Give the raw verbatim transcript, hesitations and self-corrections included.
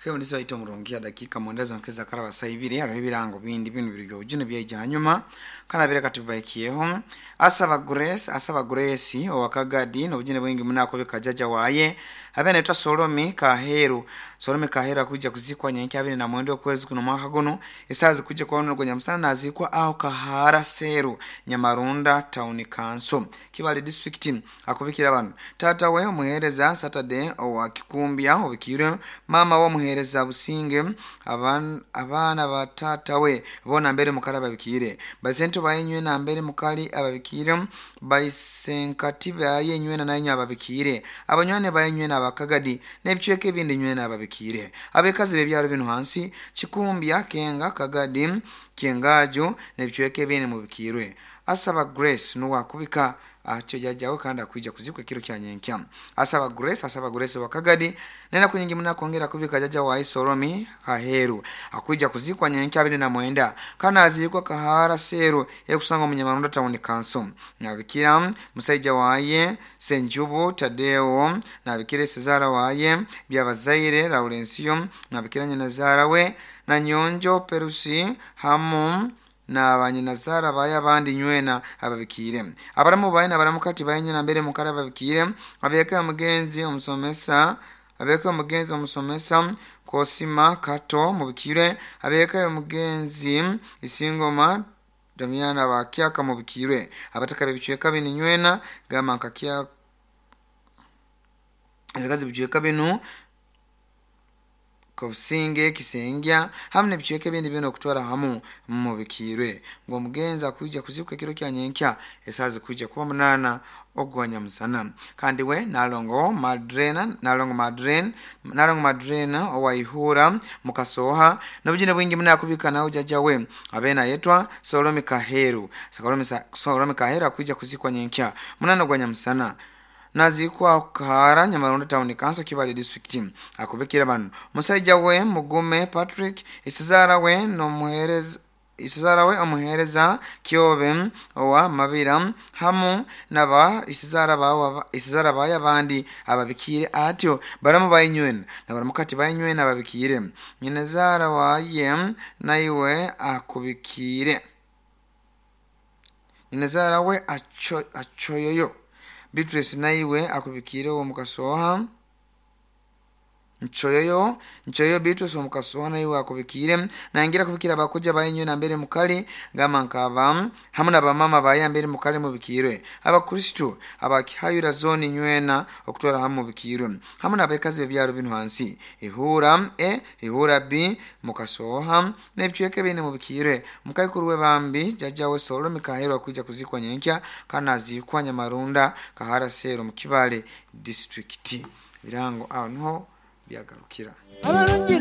Khe waita omurungi dakika mwenda zonkeza karaba saibiri hariho ebirango bindi binu biri byobujune byaija hanyuma kana bireka tubaikiyeho. Asaba Grace, asaba Grace owakagadi nobujune bwingi munakobeka jaja waye abe naitwa Solomi Kaheru. Solomi Kaheru akuja kuzikwa nyenki abiri na mwenda okwezi kuno mwaka guno esazi kuja kwa ono nyamusana nazikwa aho Kahara Seru, Nyamarunda Town Council, Kibale District. Akubikira abantu tata we omuhereza Saturday owa Kikumbya obikire, mama wo omuhereza Businge, aban, abaana ba tata we bona mbere mukali ababikire, basento bayenywe na mbere mukali ababikire, baisenkati bayenywe na nanyu ababikire, abanywane bayenywe na abakagadi n'ebicweka ebindi nywe na ababikire, abekazi bebyaro bino hansi Kikumbya, Kenga, Kagadi, Kyengajo n'ebicweka ebindi mubikirwe. Asaba Grace nuwakubika acho jajawe kandi akuija kuzikwa ekiro kya nyenkya. Asaba Grace, asaba Grace wakagadi nena kunyingi muna kongera kubika jaja wa Isoromi Kaheru akuija kuzikwa nyenkya abiri na mwenda kana azikwa Kahara Seru ekusanga Munyamarunda Town Council. Nabikira musaija waye Senjubu Tadeo, nabikire Cesara waye Byabazaire Laurencio, nabikira nyina we na Nyonjo Perusi hamu na banyinazara baye abandi nywena ababikire, abaramu baye nabaramukati baye nywena mbere mukara ababikire, abeka omugenzi omusomesa, abeka omugenzi omusomesa Kosima Kato mubikire, abeka omugenzi Isingoma Damiana bakyaka mubikire, abataka bebicweka binu nywena gama nkakya ebikazi bicweka binu Kobusinge, Kisengya hamu n'ebicweka ebindi byona okutwara hamu mubikirwe. Ngo omugenzi akuija kuzikwa ekiro kya nyenkya esazi kuija kuba munana ogwa nyamusana. Kandi we Nalongo Madrena, Nalongo Madren, Nalongo Madrena owaihura mukasoha nobujine bwingi munakubika nawo jaja we abena yetwa Solomi Kaheru. Solomi, Solomi Kaheru akuija kuzikwa nyenkya munana ogwa nyamusana nazikwa Kahara, Nyamarunda Town Council, Kibale District. Akubikira bano musaija we Mugume Patrick, isizara we nomuhereza isizara we omuhereza Kyobe owa Mabira hamu naba isizara bawa isizara baye abandi ababikire atyo baramu bayinywena na baramukati bayinywena ababikire, nyinazara waye naiwe akubikire, nyinazara we acho achoyoyo Beatrice naiwe akubikire uwo mukasoha nchoyoyo nchoyoyo Beatrice uwo mukasoha naiwe akubikire nangira kubikira abakuja bayinywe na mbere mukali gama nkaba hamu na bamama baye mbere mukali mubikirwe, abakristo abakihayura zone nywena okutwara hamu mubikirwe, hamu n'abekazi bebyaro bino hansi ihura e ihura b mukasoha n'ebicweka bine mubikirwe. Mukaikuru we bambi jaja we Solomi Kaheru akuija kuzikwa nyenkya kana azikwa Nyamarunda Kahara Seru mu Kibale District. Birango aho niho byagarukira. Abalungi.